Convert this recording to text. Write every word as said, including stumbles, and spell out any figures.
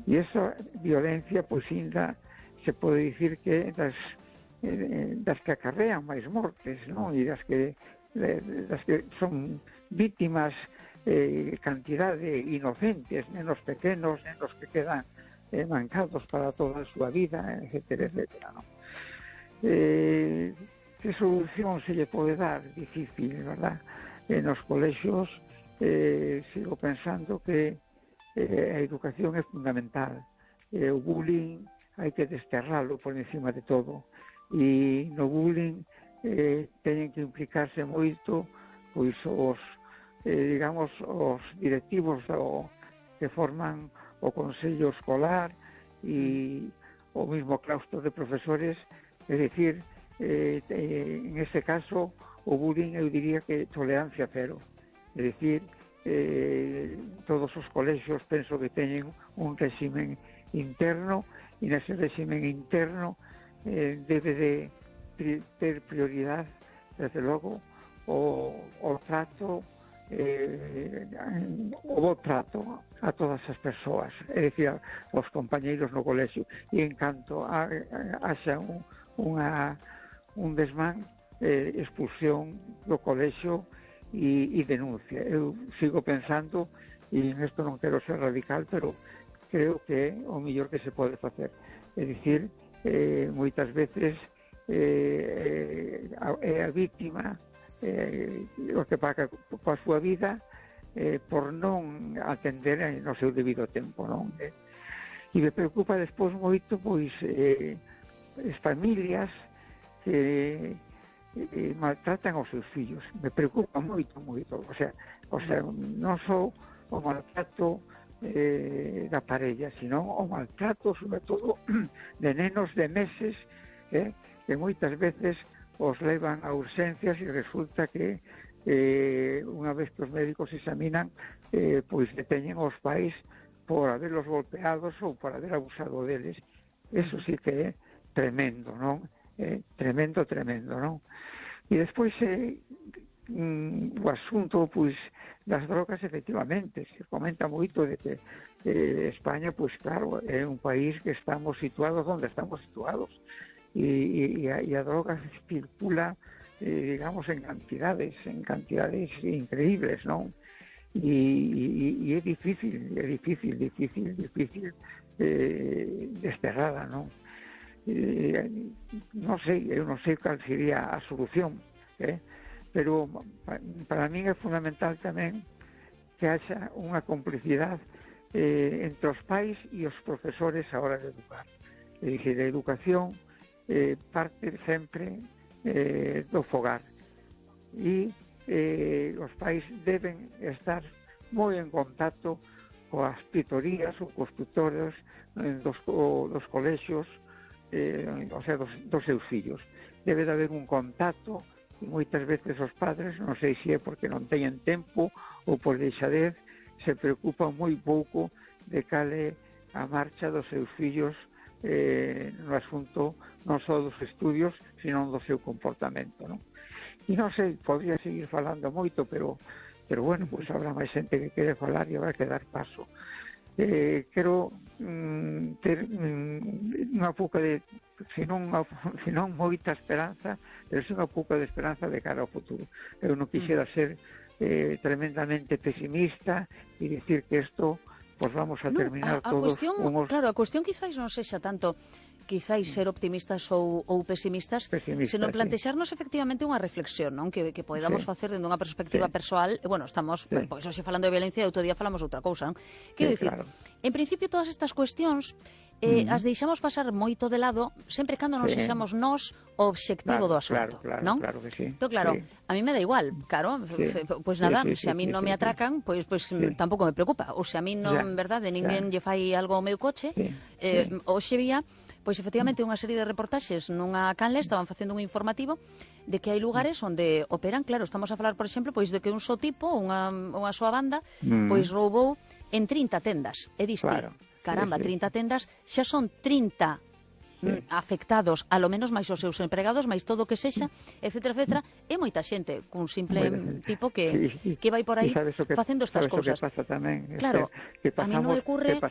E esa violencia, pois, ainda se pode dicir que das, eh, das que acarrean máis mortes, non? E das que, das que son vítimas eh, cantidade inocentes, nenos pequenos, nenos que quedan eh, mancados para toda a súa vida, etcétera, etcétera, non? Eh, que solución se lle pode dar? Difícil, verdad? Eh, nos colexios eh, sigo pensando que eh, a educación é fundamental. Eh, o bullying hai que desterralo por encima de todo. E no bullying eh, teñen que implicarse moito pois os eh, digamos os directivos do, que forman o Consello Escolar e o mismo claustro de profesores, é dicir, eh, en este caso o bullying eu diría que tolerancia cero, é dicir, eh, todos os colexios penso que teñen un réximen interno e nese réximen interno eh, debe de pri ter prioridade, desde logo, o, o trato eh, o bo trato a todas as persoas, é dicir, aos compañeiros no colexio, e en canto a, a, haxa un, unha, un desmán, eh, expulsión do colexio e, e denuncia. Eu sigo pensando, e en isto non quero ser radical, pero creo que é o mellor que se pode facer, é dicir, eh, moitas veces eh, é a vítima eh, o que paga coa súa vida eh, por non atender no seu debido tempo, non? Eh, e me preocupa despois moito pois eh, as familias que eh, maltratan aos seus fillos. Me preocupa moito, moito. O sea, o sea non só o maltrato eh, da parella, sino o maltrato, sobre todo, de nenos de meses eh, que moitas veces os levan a urgencias e resulta que eh, unha vez que os médicos examinan eh, pois deteñen os pais por haberlos golpeados ou por haber abusado deles. Eso sí que é tremendo, non? Eh, tremendo, tremendo, non? E despois eh, mm, o asunto pois das drogas, efectivamente se comenta moito de que eh, España, pois claro, é un país que estamos situados onde estamos situados. Y, y, y a drogas circula, eh, digamos, en cantidades, en cantidades increíbles, ¿no? Y, y, y é difícil, é difícil, difícil, difícil eh, desterrada, ¿no? Eh, non sei, eu non sei cal sería a solución, eh? Pero para mí é fundamental tamén que haxa unha complicidade eh, entre os pais e os profesores a hora de educar. É dicir, a educación Eh, parte sempre eh, do fogar e eh, os pais deben estar moi en contacto coas tutorías ou cos tutores eh, dos, o, dos colexios eh, o sea, dos, dos seus fillos. Debe de haber un contacto e moitas veces os padres, non sei se é porque non teñen tempo ou por deixadez, se preocupan moi pouco de cal é a marcha dos seus fillos eh, no asunto non só dos estudios, sino do seu comportamento, non? E non sei, podría seguir falando moito, pero pero bueno, pois pues habrá máis xente que quere falar e habrá que dar paso. Eh, quero mm, ter mm, unha pouca de, se non, se non moita esperanza, pero se unha pouca de esperanza de cara ao futuro. Eu non quixera ser eh, tremendamente pesimista e dicir que isto pues vamos a terminar no, a, a todos cuestión, unos... Claro, a cuestión quizáis non sexa tanto quizáis ser optimistas ou, ou pesimistas, pesimistas, senón sí. plantexarnos efectivamente unha reflexión, non? Que, que podamos sí. facer dende unha perspectiva sí. persoal. E, bueno, estamos, sí. pois, hoxe falando de violencia e outro día falamos outra cousa, non? Quero sí, dicir, claro. En principio todas estas cuestións eh, mm. as deixamos pasar moito de lado sempre cando non sí. sexamos nós o obxectivo claro, do asunto, claro, claro, non? Claro que sí. Entón, claro, sí. a mí me da igual, claro, sí. pois pues nada, sí, sí, se a mí sí, non sí, me atracan, pois pues, pues, sí. tampouco me preocupa. Ou se a mí non, en verdade, ninguén lle fai algo ao meu coche, sí. eh, sí. hoxe vía pois efectivamente unha serie de reportaxes nunha canle estaban facendo un informativo de que hai lugares onde operan, claro, estamos a falar, por exemplo, pois de que un só tipo, unha, unha súa banda, mm. pois roubou en trinta tendas. E diste, claro. caramba, sí, sí. trinta tendas, xa son trinta sí. afectados, a lo menos máis os seus empregados, máis todo o que sexa, etcétera, etcétera, e moita xente cun simple bueno, tipo que, sí, sí. que vai por aí facendo estas cousas. Tamén, claro, que pasamos, a mí non me ocurre...